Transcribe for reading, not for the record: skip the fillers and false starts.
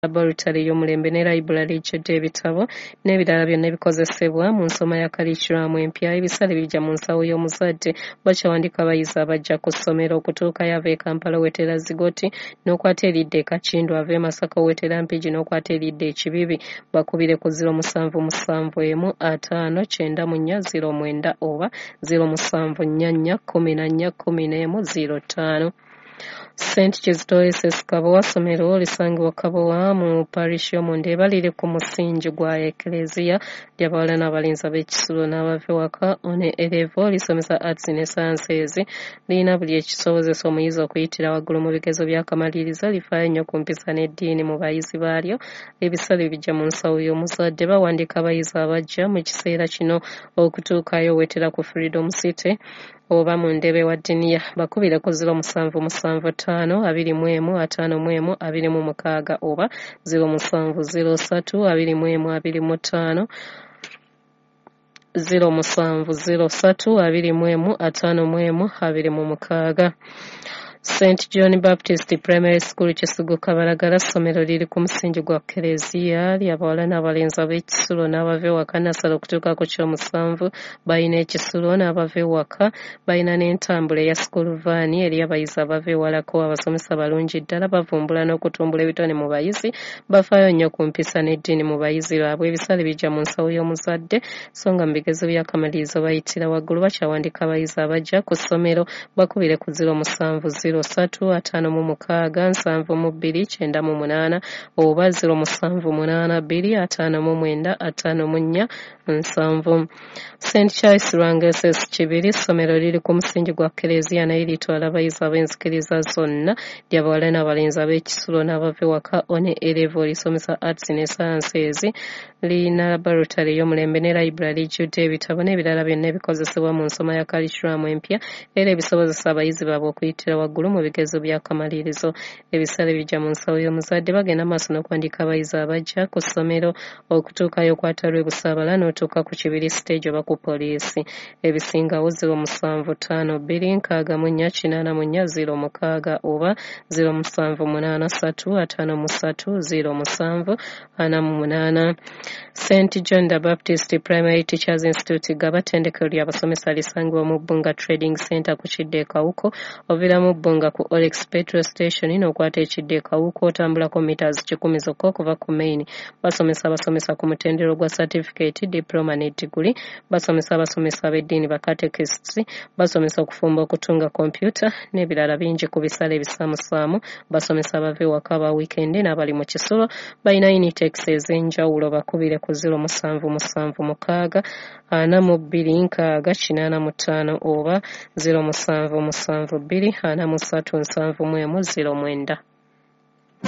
Laboratory ey'omulembe ne library ejjudde ebitabo n'ebirala byonna ebikozesebwa mu nsoma ya kalikiramu empya. Ebisale bijja mu nsawo y'omuzadde. Bakyawandiika abayizi abajja ku ssomero okutuukayo ava e Kampala owetera Zigoti n'okwata eridda e Kakindu, ava e Masaka owetera Mpigi n'okwata eridda e Kibibi. Bakubire ku 0771 50 94 09 oba 0744 14 11 05. St Kizito SS Kabowa ssomero lisangibwa Kabowa mu parish y'omu Ndeeba, liri ku musingi gwa Eklezia, ly'abawala n'abalenzi ab'ekisulo n'abava ewaka one A level, lisomesa arts ne sciences, lirina buli ekisobozesa omuyizi okuyitira waggulu mu bigezo by'akamalirizo, lifaayo nnyo ku mpisa n'eddiini mu bayizi baalyo. Ebisale bijja mu nsawo y'omuzadde. Bawandiika abayizi abajja mu kiseera kino okutuukayo owetera ku Freedom City oba mu Ndeeba wa Diniya. Bakubire ku 0775 21 51 26 oba 0703 21 25 0703 21 51 26. St John Baptist Primary School Kisugu Kabalagala ssomero liri ku musingi gwa Kereziya, ly'abawala n'abalenzi ab'ekisulo n'abava ewaka nasala okutuuka ku kyomusanvu. Balina ekisulo n'abava ewaka, balina n'entambula eya school van eri abayizi abava ewalako. Abasomesa balungi ddala, bavumbula n'okutumbula ebitone mu bayizi, bafaayo nnyo ku mpisa n'eddiini mu bayizi baabwe. Ebisale bijja mu nsawo y'omuzadde, so nga mu bigezo by'akamalirizo bayitira waggulu. Bakyawandiika abayizi abajja ku ssomero. Bakubire ku 07 03 56 72 98 oba 0782 59 54 70. St Charles Lwanga SS Kibiri ssomero liri ku musingi gwa Kereziya naye litwala abayizi ab'enzikiriza zonna, ly'abawala n'abalenzi ab'ekisulo n'abava ewaka one A level, lisomesa arts ne sciences, lirina laboratory ey'omulembe ne library ejjudde ebitabo n'ebirala byonna ebikozesebwa mu nsoma ya kalikiramu empya era ebisobozesa abayizi baabwe okuyitira waggulu mu bigezo by'akamalirizo. Ebisale bijja mu nsawo y'omuzadde. Bagenda maaso n'okuwandiika abayizi abajja ku ssomero okutuukayo okwata lw'e Busaabala n'otuuka ku Kibiri stage oba ku poliisi. Ebisingawo 0752 64 84 06 oba 0783 53 07 48. St John the Baptist Primary Teachers Institute Gaba ttendekero ly'abasomesa lisangibwa mu Bbunga Trading Center ku kidda e Kawuku. Oviira mu Bbunga ku Olex Petrol Station n'okwata ekidda e Kawuku, otambulako meters 100 zokka okuva ku main. Basomesa abasomesa ku mutendera gwa certificate, diploma ne diguli. Basomesa abasomesa ab'eddiini, ba catechists, basomesa okufumba, okutunga, kompyuta n'ebirala bingi ku bisale ebisaamusaamu. Basomesa abava ewaka aba weekend n'abali mu kisulo. Balina intakes ez'enjawulo. Bakubire ku 0776 42 60 85 oba 0772 43 71 09.